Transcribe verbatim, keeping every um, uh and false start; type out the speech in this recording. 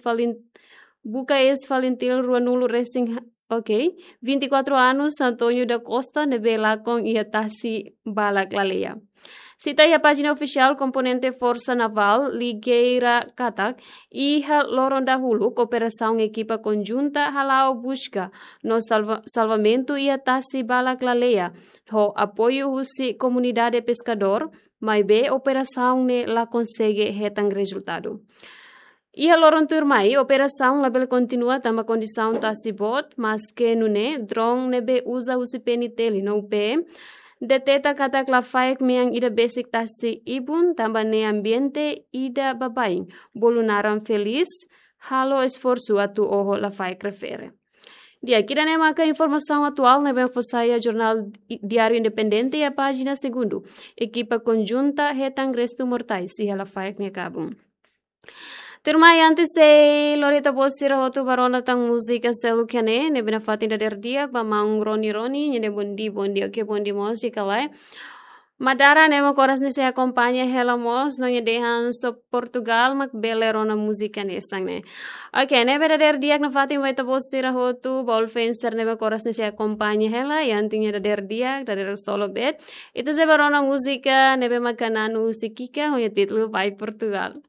Falin, buka eis Falintil ruanulu resin, ok, vinte e quatro anos, António da Costa, ne'ebé lakon iha tasi balak laleia. Sita iha pájina ofisiál komponente Forsa Navál, ligeira katak, iha loron dahuluk operasaun ekipa konjunta hala'o buska no salva-, salvamentu iha tasi balak laleia, ho apoiu husi komunidade peskadór, maibé operasaun ne'e la konsege hetan rezultadu. Iha loron tuirmai, operasaun labele kontinua tanba kondisaun tasi boot, maske nune'e, drone ne'ebé uza husi P N T L no P M, deteta katak lafaek mean ida besik tasi ibun, tanba ne'e ambiente ida baibain, bolu naran Felis, halo esforsu atu oho lafaek refere. Di'ak, ida-ne'e maka informasaun atuál ne'ebé fó sai iha jornál i-, Diário Independente iha pájina segundu. Ekipa konjunta hetan restu mortais iha lafaek nia kabun. Tuirmai, antes sei lori ita-boot sira hotu ba rona tan múzika seluk iha ne'e, ne'ebé nafatin dadeer di'ak ba maun Roni Roni, nia dehan bondia, bondia, oke, bondia mós, i ka lae. Madara, ne'e mak oras ne'e sei akompaña hela mós, no nia dehan só Portugal mak bele rona múzika hanesan ne'e. Oke, ne'ebé dadeer di'ak nafatin ba ita-boot sira hotu, ba all fans sira ne'ebé oras ne'e sei akompaña hela, iha anti nia dadeer di'ak, dadeer solo bet. Ita sei ba rona múzika ne'ebé maka na'an husi Kika, ho nia títulu Vai Portugal.